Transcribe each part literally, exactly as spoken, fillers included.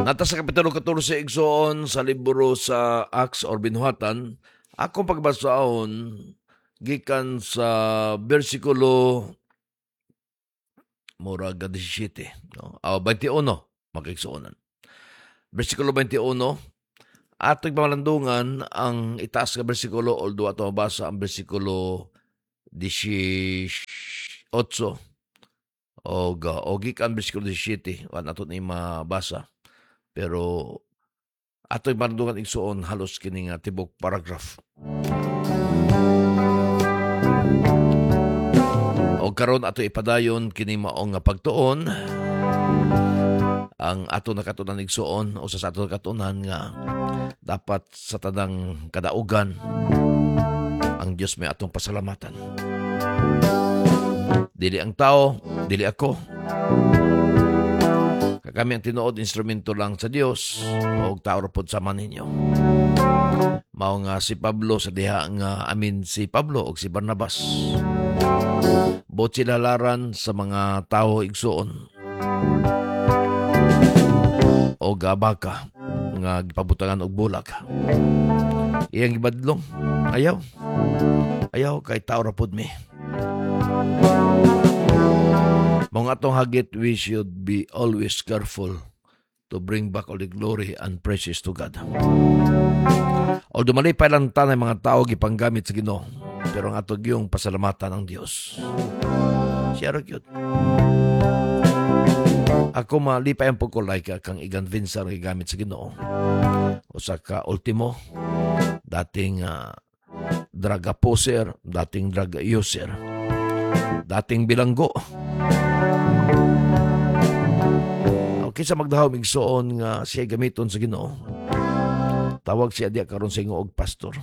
Naa ta sa Kapitulo katorse, igsoon, sa libro sa Acts or Binuhatan. Akong pagbasaon gikan sa bersikulo murag labing-diyasiyete, no? Ah, labing-walo, mga kaigsuonan. Bersikulo labing-walo, atong pamalandungan ang itaas nga bersikulo, although ato mabasa ang bersikulo labing-otso og o gikan bersikulo labing-siyete, wa nato ni mabasa. Pero ato'y malandungan, igsuon, halos kini nga tibok paragraph. O karon ato ipadayon kini mao nga pagtuon ang ato nakatunan, igsuon, o sa ato nakatunan nga dapat sa tanang kadaugan ang Dios may atong pasalamatan. Dili ang tao, dili ako. Kami ang tinuod instrumento lang sa Dios o tao ra pod sama ninyo. Mao nga si Pablo sa diha nga amin si Pablo og si Barnabas. Buot sila laran sa mga tao, igsuon, o baka nga gipabutangan og bulag. Iyang gibadlong. Ayaw. Ayaw kay tao ra pod mi. Mga atong hagit, we should be always careful to bring back all the glory and praises to God. Although malipay lang tanay mga tao gipanggamit sa Ginoo, pero ang ato gyung pasalamatan ang Dios. Siya ra gyud. Ako malipay ang pagkulay ka kang Igan Vincent gigamit sa Ginoo. Usa ka ultimo, dating uh, drug abuser, dating drug user, dating bilanggo. Okay, sa magdahom igsuon nga siya gamiton sa Ginoo. Tawag siya diya karon sa ingo og pastor.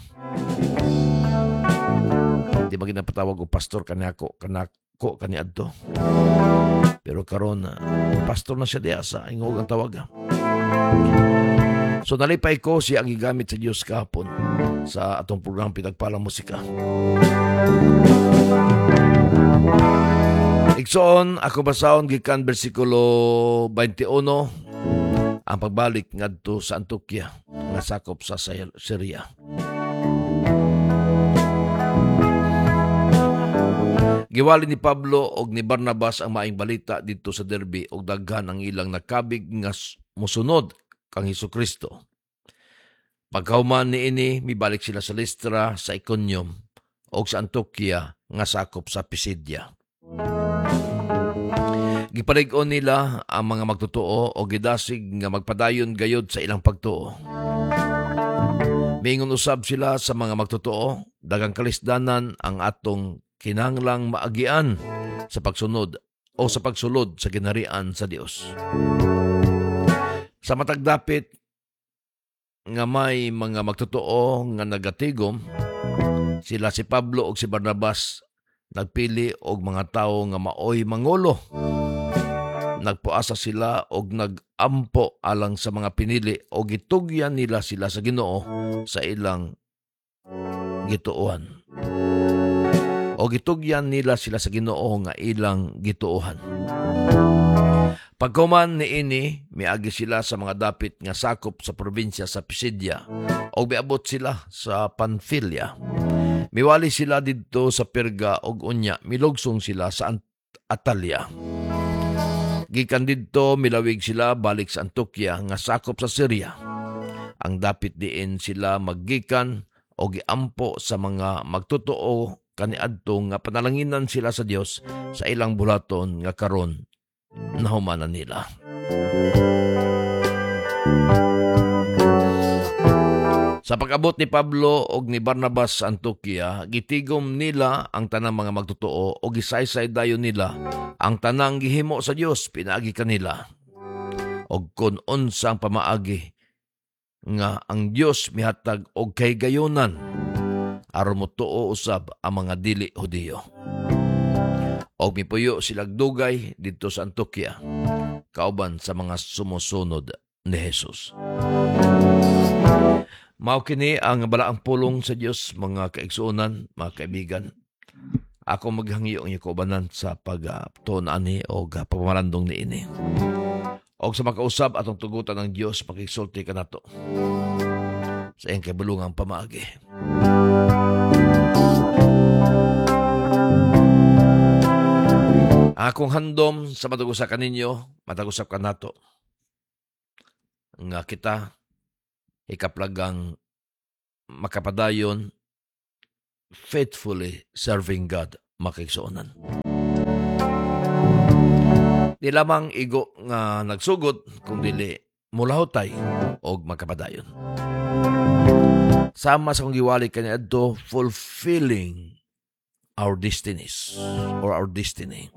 Di ba ginapatawag og pastor kanako kanako kaniadto. Pero karon pastor na siya diya sa ingo ang tawag. So nalipay ko siya ang gigamit sa Dios kahapon sa atong programa Pinagpalang Musika. Igsoon, ako basahon gikan bersikulo labing-walo, ang pagbalik ngadto sa Antioquia nga sakop sa Syria. Giwali ni Pablo og ni Barnabas ang maayong balita didto sa Derbe og daghan ang ilang nakabig nga mosunod kang Hesukristo. Pagkahuman niini, mibalik sila sa Listra, sa Iconium og sa Antioquia nga sakop sa Pisidia. Gipalig-on nila ang mga magtotoo o gidasig nga magpadayon gayod sa ilang pagtuo. Miingon usab sila sa mga magtotoo, daghang kalisdanan ang atong kinahanglang maagian sa pagsunod o sa pagsulod sa ginharian sa Dios. Sa matag dapit nga may mga magtotoo nga nagatigom, sila si Pablo ug si Barnabas nagpili og mga tawo nga maoy mangulo. Nagpuasa sila og nagampo alang sa mga pinili og gitugyan nila sila sa Ginoo sa ilang gituohan. O gitugyan nila sila sa Ginoo nga ilang gituohan. Pagkuman niini, miagi sila sa mga dapit nga sakop sa probinsya sa Pisidia og miabot sila sa Panfilia. Miwali sila didto sa Perga og unya milugsong sila sa Atalia. Gikan didto milawig sila balik sa Antioquia nga sakop sa Syria. Ang dapit diin sila maggikan o giampo sa mga magtotoo kaniadto nga panalanginan sila sa Dios sa ilang bulaton nga karon nahumanan nila. Sa pag-abot ni Pablo og ni Barnabas sa Antioquia, gitigom nila ang tanang mga magtotoo o gisaysay dayon nila ang tanang gihimo sa Dios pinaagi kanila. Og kun unsang pamaagi nga ang Dios mihatag og kahigayonan aron motuo usab ang mga dili Hudiyo. Og mipuyo silag dugay didto sa Antioquia kauban sa mga sumusunod ni Jesus. Mao kini ang balaang pulong sa Dios, mga kaigsuonan, mga kaibigan. Ako maghangyo ang inyong kaubanan sa pagtuon ani o pagpamalandong niini. Og sa makausab atong tugutan ng Dios makigsulti kanato sa iyang kaibulungang pamaagi. Ang akong handom sa matag usa kaninyo, matag usab kanato nga kita ikaplagang makapadayon faithfully serving God, makigsuonan. Di lamang igo nga nagsugod, kung dili mulahutay og makapadayon. Sama sa kong giwali kaniadto, fulfilling our destinies or our destiny.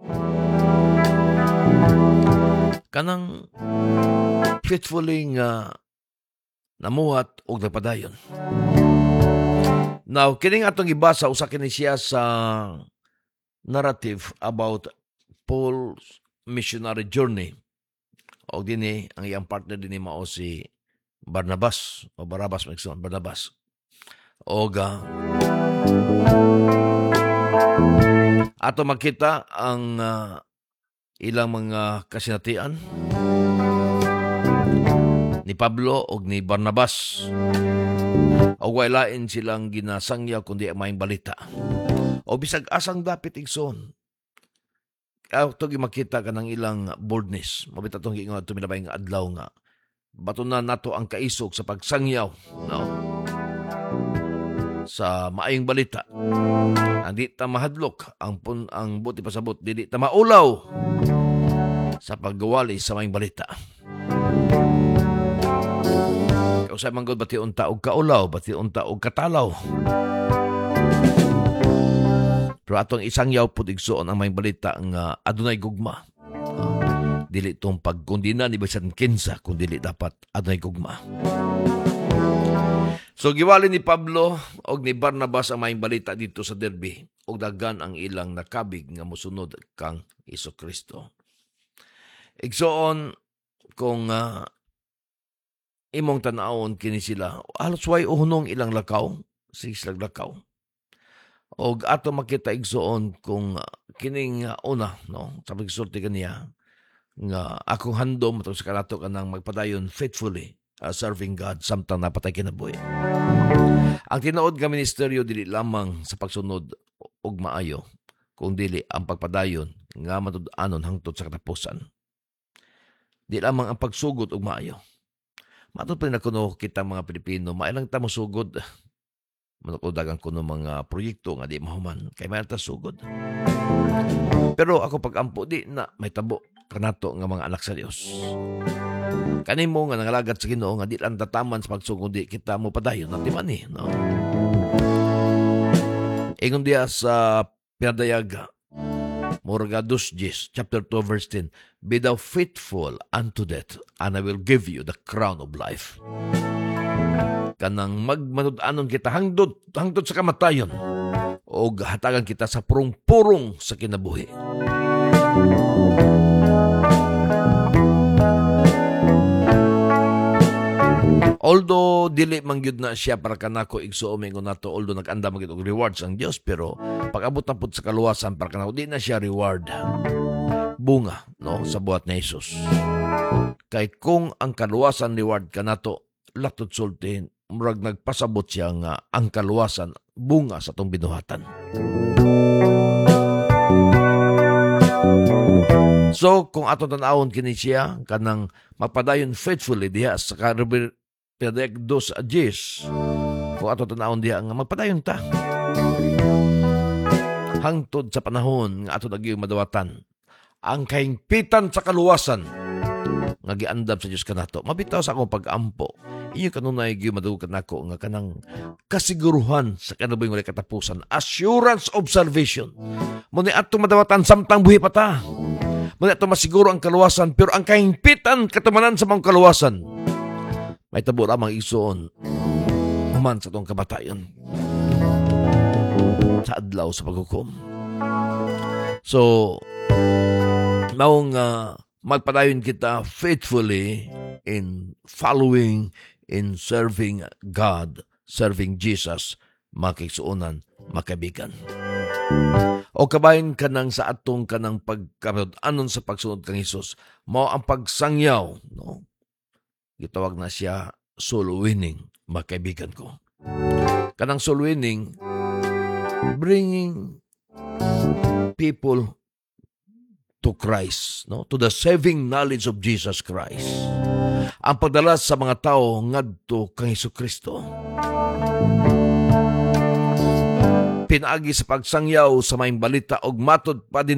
Kanang faithfully nga namuhat og nagpadayon. Now, kining atong gibasa, usa kini siya sa narrative about Paul's missionary journey. O dini, ang iyang partner dini mao si Barnabas o Barabas, magsuon, Barnabas. Og uh, ato makita ang uh, ilang mga kasinatian ni Pablo og ni Barnabas. Og way lain silang ginasangyaw kundi ang maayong balita. O bisag asang dapit, igsoon, ato makita kanang ilang boldness. Mabit atong giingon ato milabay nga adlaw nga batunan nato ang kaisog sa pagsangyaw, no, sa maayong balita. Ang di ta mahadlok, ang pun, ang buti pasabot, dili ta maulaw sa paggawali sa maayong balita. Kausay man gud, bati unta og kaulaw, bati unta og katalaw. Pero atong isangyaw pud, igsuon, ang maayong balita nga adunay gugma. Uh, dili tong pagkundina ni bisan kinsa, kun dili dapat adunay gugma. So giwali ni Pablo og ni Barnabas ang maayong balita dito sa Derbe og daghan ang ilang nakabig nga mosunod kang Jesucristo. Igsoon, kung uh, imong tan-awon kini sila, halos way uhunong ilang lakaw, sige silang lakaw. Og ato makita, igsoon, kung kining una, no, sa pagsulti kaniya nga akong handom matag sa kanato kanang magpadayon faithfully uh, serving God samtang naa pa tay kinabuhi. Ang tinuod nga ministeryo dili lamang sa pagsunod og maayo, kung dili ang pagpadayon nga matud-anon hangtod sa katapusan. Di lamang ang pagsugod og maayo. Matud pa na kuno kita mga Pilipino, mailang ta mosugod. Manukodagan kuno mga proyekto nga di mahuman, kay may ta sugod. Pero ako pag-ampo, di na may tabo kanato nga mga anak sa Dios. Kanimo nga nangalagat sa Ginoo nga di lang tataman sa pagsugod, di kita mo padayon na timani, no? Ingon diya sa pinadayag Morga dos Gs, chapter two verse ten, "Be thou faithful unto death, and I will give you the crown of life." Kanang magmanud-anon kita hangtod, hangtod sa kamatayon, o hatagan kita sa purong-purong sa kinabuhi. Although dili man gyud na siya para kanako, igsuon, mingon nato, although nag-andam man gyud og rewards ang Dios, pero pag-abot na pud sa kaluwasan para kanako di na siya reward, bunga, no, sa buhat ni Jesus. Kay kung ang kaluwasan reward kanato, latod sultihin, murag nagpasabot siya nga ang kaluwasan bunga sa atong binuhatan. So kung ato tan-awon kini siya kanang mapadayon faithfully diha sa karibir pinadayag dos a Diyes, kung ato tan-awon diha nga magpadayon ta hangtod sa panahon nga ato nagyong madawatan ang kahingpitan sa kaluwasan nga giandam sa Dios kanato. Mabitaw sa akong pag-ampo, inyo kanunay gyud madugog kanako nga kanang kasiguruhan sa kinabuhing walay katapusan, assurance of salvation. Mo ni atong madawatan samtang buhi pa ta. Mo ni atong masiguro ang kaluwasan, pero ang kahingpitan katumanan sa mga kaluwasan may tabo lamang, igsoon, human sa atong kamatayon sa adlaw sa paghukom. So maong uh, magpadayon kita faithfully in following, in serving God, serving Jesus, mga kaigsuonan, mga kaibigan. O kabahin kanang sa atong kanang pagkatud-anon sa pagsunod kang Hesus, mao ang pagsangyaw, no? Gitawag na siya soul winning, mga kaibigan ko. Kanang soul winning, bringing people to Christ, no? To the saving knowledge of Jesus Christ. Ang pagdala sa mga tao ngadto kang Hesus Kristo. Pinaagi sa pagsangyaw sa maayong balita og matod pa din.